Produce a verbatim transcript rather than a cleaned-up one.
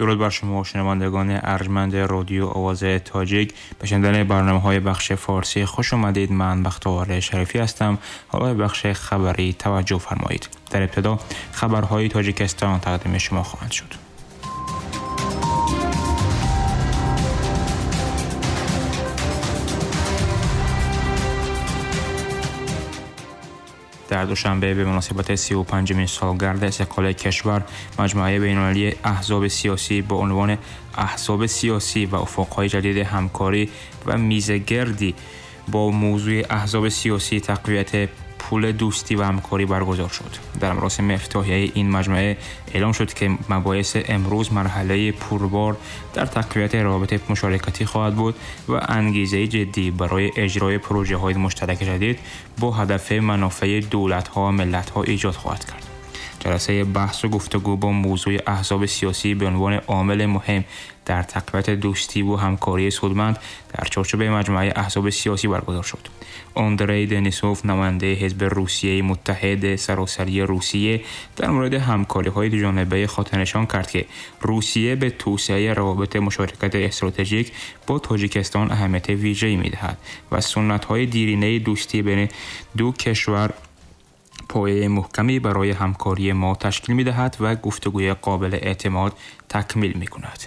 درود بر شما شنوندگان ارجمند رادیو آواز تاجیک. به شنیدن برنامه‌های بخش فارسی خوش آمدید. من بختیار شریفی هستم. حالا بخش خبری توجه فرمایید. در ابتدا خبرهای تاجیکستان تقدیم شما خواهند شد. در دوشنبه به مناسبت سی و پنجمین سالگرد استقلال کشور، مجموعه بین‌المللی احزاب سیاسی با عنوان احزاب سیاسی و افق‌های جدید همکاری و میزگردی با موضوع احزاب سیاسی تقویت پول دوستی و همکاری برگزار شد. در مراسم افتتاحیه این مجموعه اعلام شد که مباحث امروز مرحله پربار در تقویت روابط مشارکتی خواهد بود و انگیزه جدی برای اجرای پروژه‌های مشترک جدید با هدف منافع دولت‌ها و ملت‌ها ایجاد خواهد کرد. جلسه بحث و گفتگو با موضوع احزاب سیاسی به عنوان عامل مهم در تقویت دوستی و همکاری سودمند در چارچوب مجموعه احزاب سیاسی برگزار شد. آندری دنیسوف، نماینده حزب روسیه متحد سراسری روسیه، در مورد همکاری‌های دوجانبه خاطرنشان کرد که روسیه به توسعه روابط مشارکت استراتژیک با تاجیکستان اهمیت ویژه‌ای می‌دهد و سنت‌های دیرینه دوستی بین دو کشور پایه محکمی برای همکاری ما تشکیل می‌دهد و گفتگوی قابل اعتماد تکمیل می‌کند.